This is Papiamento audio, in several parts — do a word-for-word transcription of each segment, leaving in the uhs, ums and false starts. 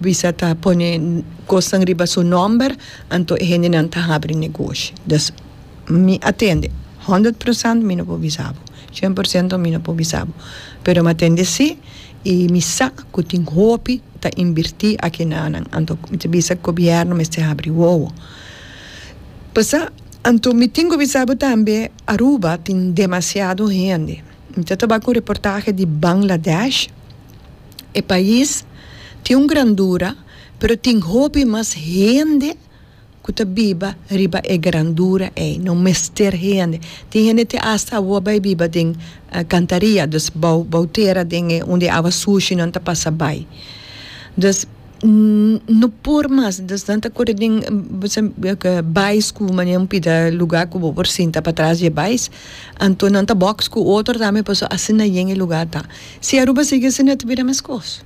Bisa ta pone kosnan riba su nòmber, anto e hendenan ta habri negoshi. Dus mi a tende, honderd procent mi no por bisa bo, shen por ciento mi no por bisa bo, pero mi a tende si i mi sa ku tin hopi ta invertí aki nanan. Anto mi ta bisa gobièrnu mester habri wowo. Pasá, anto mi tin ku bisa bo tambe, Aruba tin demasiado hende. Mi ta tabata ku un reportahe di Bangladesh. E pais tin un grandura, pero tin hopi mas hende ku ta biba riba e grandura ei. No mester hende. Tin hende te asta awor bai biba den kantaria, dus bou bou tera den e unda e awa sushi nan ta pasa bai. Dus no por mas, dus nan ta kore den bais ku manera un pida lugá ku bo por sinta patras di e bais, anto nan ta boks ku otro tambe pasobra asina yen e lugá ta. Si Aruba sigui asina ta bira meskos.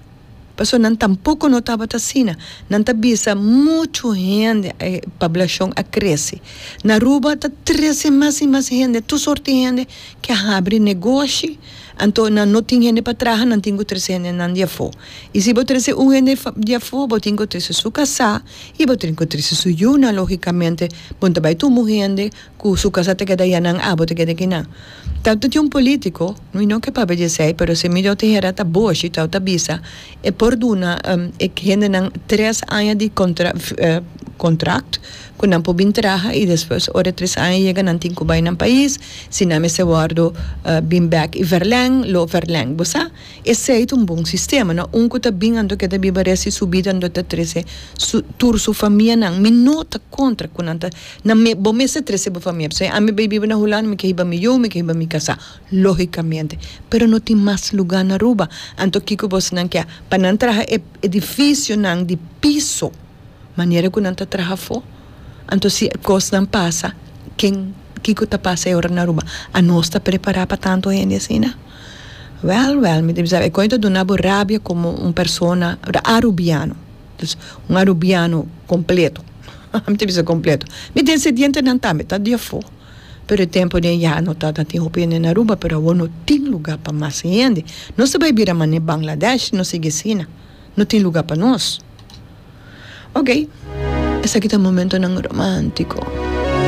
Pasobra nan tampoko no tabata asina. Nan ta bisa muchu hende e poblashon a krese. Na Aruba ta trese mas i mas hende, tur sorti hende ke a habri negoshi, anto nan no tin hende pa traha, nan tin ku trese hendenan di afó. I si bo trese un hende di afó, bo tin ku trese su kasá i bo tin ku trese su yunan lógikamente. Bo no ta bai tuma un hende ku su kasá ta keda ayanan, abo ta keda akinan. Tantu tin un polítiko, mi no ke papia di esei, pero si mi no ta hera ta boshi, tau ta bisa e por duna e hendenan tres aña di kontra kontrakt ku nan por bin traha i despues ora e tres aña yega nan tin ku bai nan pais, si nan mester wòrdu bin bèk i vèrlèng, lo vèrlèng. Bo sa, esei ta un bon sistema, no? Un ku ta bin anto ke ta biba rèst di su bida anto ta trese su tur su famianan. Mi no ta kontra ku nan ta nan me bo mester trese bo famia. P'esei ami bai biba na Hulanda, mi ke hiba mi yu, mi ke hiba mi kasá, lógikamente. Pero no tin mas lugá na Aruba. Anto kiko bosnan ke? Pa nan traha e edifisionan di piso manera ku nan ta traha afó. Anto si e kosnan pasa, ken kiko ta pasa e ora na Aruba? Anos ta prepará pa tantu hende asina? Wèl, wèl, mi ta bisa e kos ta duna bo rabia komo un persona arubiano. Dus un arubiano kompleto. Mi ta bisa kompleto. Mi desendientenan tambe ta di afó. Pero e tempu den ya no tabata tin hopi hende na Aruba, pero awor no tin lugá pa mas hende. Nos ta bai bira manera Bangladesh si nos sigui asina. No tin lugá pa nos. Ok, esaki ta momentonan romántico.